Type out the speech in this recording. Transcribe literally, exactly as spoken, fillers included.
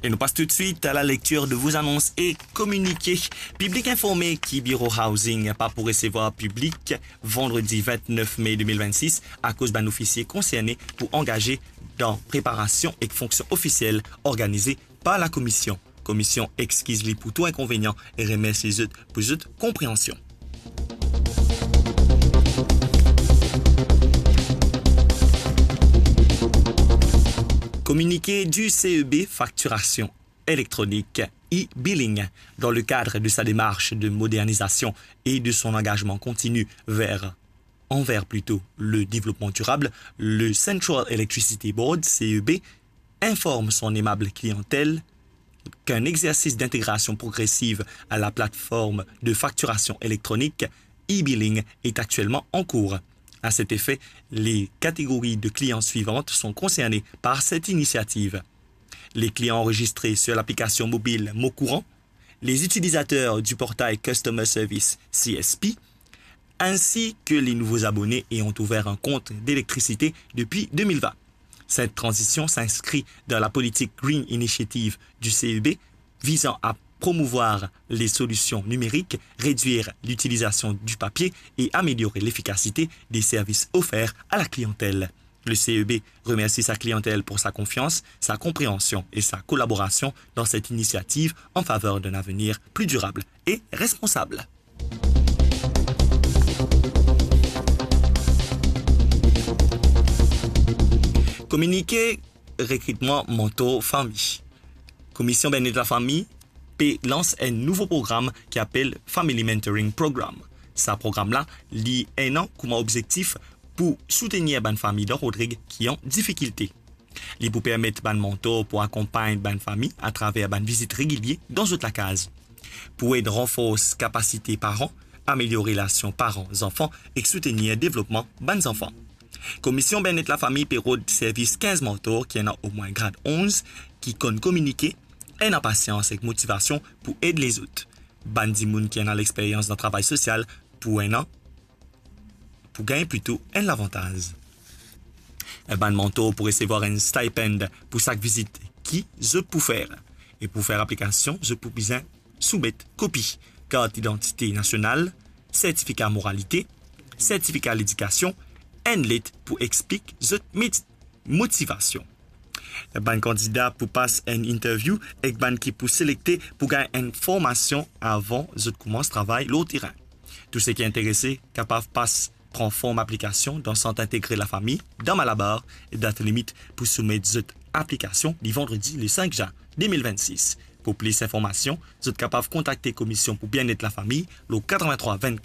Et nous passe tout de suite à la lecture de vos annonces et communiqués. Piblik informe ki Biro Housing pa pou resevwar piblik vandredi vintnef me de mil vennsis akoz bann ofisie konserne pou angaze dan preparasion ek fonksion ofisiel organize par la Komision. Komision exkiz li pou tou inkonvenian e remersi zot pou zot konpreansion. Communiqué du C E B, facturation électronique, e-billing. Dans le cadre de sa démarche de modernisation et de son engagement continu vers, envers plutôt, le développement durable, le Central Electricity Board, C E B, informe son aimable clientèle qu'un exercice d'intégration progressive à la plateforme de facturation électronique, e-billing, est actuellement en cours. À cet effet, les catégories de clients suivantes sont concernées par cette initiative. Les clients enregistrés sur l'application mobile Mon Courant, les utilisateurs du portail Customer Service, C S P, ainsi que les nouveaux abonnés ayant ouvert un compte d'électricité depuis deux mille vingt. Cette transition s'inscrit dans la politique Green Initiative du C E B visant à promouvoir les solutions numériques, réduire l'utilisation du papier et améliorer l'efficacité des services offerts à la clientèle. Le C E B remercie sa clientèle pour sa confiance, sa compréhension et sa collaboration dans cette initiative en faveur d'un avenir plus durable et responsable. Kominike rekritman mantor fami. Komision Bienet Lafami pe lans enn nouvo program ki apel Family Mentoring Program. Sa program la, li ena kouma obzektif pou soutenir bann fami dan Rodrig ki an difikilte. Li pou permet bann mantor pou akonpagn bann fami atraver bann vizit regilie dan zot lakaz, pou ed ranfors kapasite paran, amelior relasion paran-zanfan ek soutenir devlopman bann zanfan. Komision Bienet Lafami pe rod servis kinz mantor ki ena omwin grad onz, ki konn kominike, ena pasians ek motivasion pou ed lezot. Bann dimoun ki ena lexperyans dan travay sosial pou ena, pou gagn plito enn lavantaz. Bann mantor pou resevwar enn stipend pou sak vizit ki zot pou fer. E pou fer aplikasion, zot pou bizin soumet kopi kart idantite nasional, sertifika moralite, sertifika ledikasion, enn let pou explik zot met-, motivasion. Bann kandida pou pas enn interview ek bann ki pou selekte pou gagn enn formasion avan zot koumans travay lor terin. Tou seki interese kapav pas pran form aplikasion dan Sant Integre Lafami, dan Malabar, e dat limit pou soumet zot aplikasion li vandredi le sink zin de mil vennsis. Pou plis informasion, zot kapav kontakte Komision pou Bienet Lafami lor katrevin-trwa vennkat